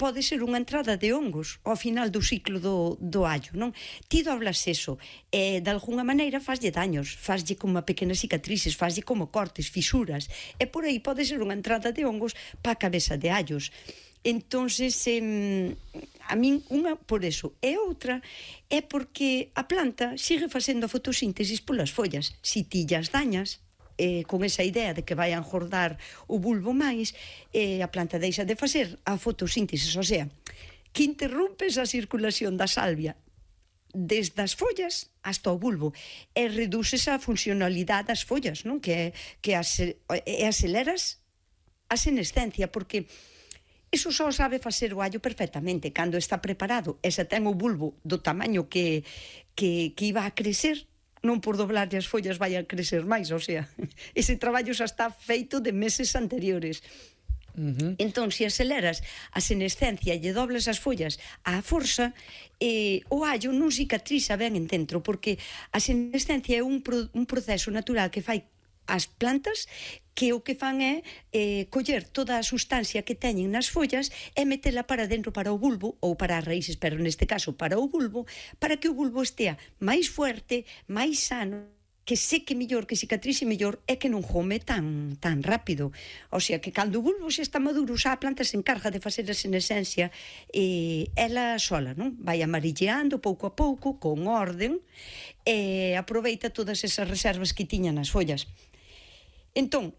pode ser unha entrada de hongos ao final do ciclo do allo, non? Ti doblas eso, e de alguna maneira faslle daños, faslle como pequenas cicatrices, faslle como cortes, fisuras, e por aí pode ser unha entrada de hongos pa a cabeza de allos. Entonces, a min unha por eso, e outra é porque a planta sigue facendo a fotosíntesis polas follas. Si ti llas dañas, con esa idea de que vai a engordar o bulbo máis, a planta deixa de facer a fotosíntesis, o sea, que interrompes a circulación da salvia desde as follas hasta o bulbo e reduces a funcionalidade das follas, non? Que aceleras a senescencia, porque iso só sabe facer o allo perfectamente cando está preparado e se ten o bulbo do tamaño que iba a crecer, non por doblarlle as follas vai a crecer máis, o sea, ese traballo xa está feito de meses anteriores. Entón, se aceleras a senescencia e lle dobles as follas á forza, o allo non cicatriza ben en dentro, porque a senescencia é un proceso natural que fai as plantas que o que fan é coller toda a sustancia que teñen nas follas e metela para dentro, para o bulbo, ou para as raíces, pero neste caso para o bulbo, para que o bulbo estea máis fuerte, máis sano, que seque mellor, que cicatrice mellor e que non jome tan rápido. O sea, que cando o bulbo xa está maduro, xa a planta se encarga de facer a senescencia ela sola, non? Vai amarilleando pouco a pouco, con orden, e aproveita todas esas reservas que tiña nas follas. Entón,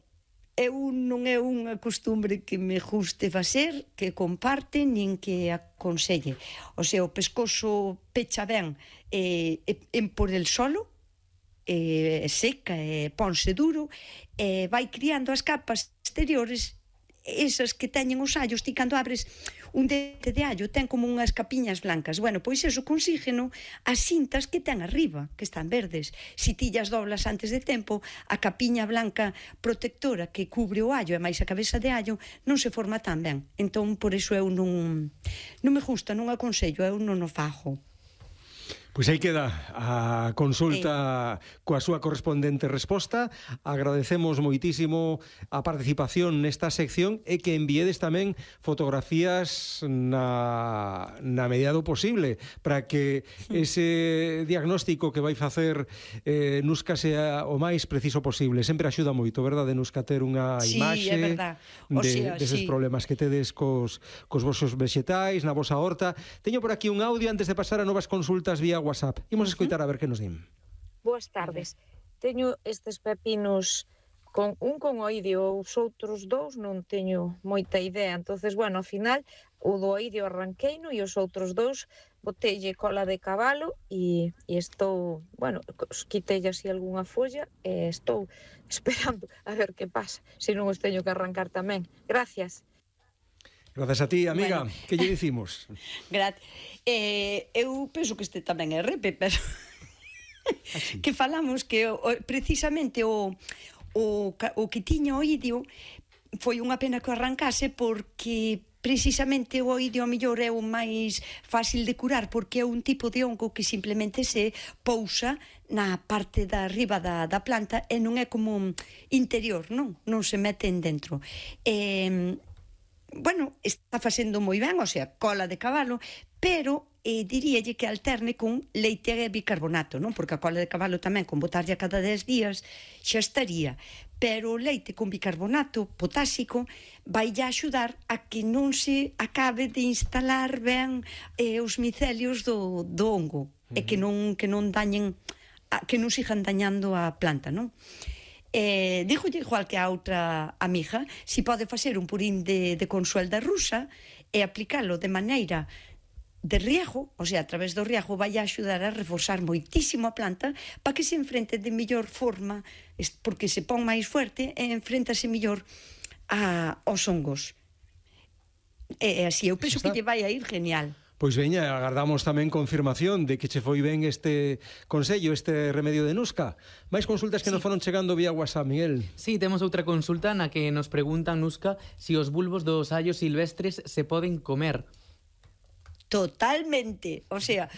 non é unha costumbre que me guste facer, que comparte, nin que aconselle. O sea, o pescozo pecha ben por el solo, seca, ponse duro, vai criando as capas exteriores, esas que teñen os allos. Ti cando abres un dente de allo ten como unhas capiñas blancas, bueno, pois eso consígueno as cintas que ten arriba, que están verdes. Si ti llas doblas antes de tempo, a capiña blanca protectora que cubre o allo e máis a cabeza de allo non se forma tan ben. Entón, por iso eu non me gusta, non aconsello, eu non o fago. Pois aí queda a consulta coa súa correspondente resposta. Agradecemos moitísimo a participación nesta sección e que enviedes tamén fotografías na medida do posible para que ese diagnóstico que vai facer Nuska sea o máis preciso posible. Sempre axuda moito, verdade, Nuska, ter unha imaxe deses problemas que tedes cos vosos vexetais, na vosa horta. Teño por aquí un audio antes de pasar a novas consultas vía WhatsApp. Imos escoitar a ver que nos din. Boas tardes. Teño estes pepinos con oidio, os outros dous non teño moita idea. Entonces, bueno, ao final o do oidio arranqueino e os outros dous botelle cola de cabalo e estou, bueno, quitei así algunha folla e estou esperando a ver que pasa, se non os teño que arrancar tamén. Gracias. Gracias a ti, amiga. Bueno, que lle dicimos? Gracias. Eu penso que este tamén é repe, pero que falamos que precisamente o que tiña o oidio foi unha pena que o arrancase, porque precisamente o oidio a mellor é o máis fácil de curar, porque é un tipo de hongo que simplemente se pousa na parte da arriba da planta e non é como interior, non se mete en dentro. Bueno, está facendo moi ben, o sea, cola de cabalo, pero diríalle que alterne con leite e bicarbonato, non? Porque a cola de cabalo tamén, con botarlle a cada 10 días, xa estaría. Pero o leite con bicarbonato potásico vai a axudar a que non se acabe de instalar ben os micelios do hongo, e que non dañen, que non sigan dañando a planta, non? Dígolle igual que a outra amiga, si pode facer un purín de consuelda rusa e aplicalo de maneira de riego, o sea, a través do riego vai a axudar a reforzar moitísimo a planta para que se enfrente de mellor forma, porque se pon máis fuerte e enfréntase mellor aos hongos. E así, eu penso que lle vai a ir genial. Pois veña, agardamos tamén confirmación de que che foi ben este consello, este remedio de Nuska. Mais consultas que nos foron chegando vía WhatsApp, Miguel. Sí, temos outra consulta na que nos preguntan, Nuska, si os bulbos dos allos silvestres se poden comer. Totalmente, o sea,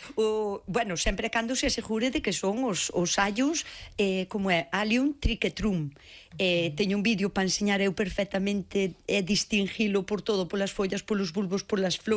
bueno, sempre cando se asegure de que son os allos como é, Allium triquetrum. Teño un vídeo para enseñar eu perfectamente distinguilo por todo, polas follas, polos bulbos, polas flores.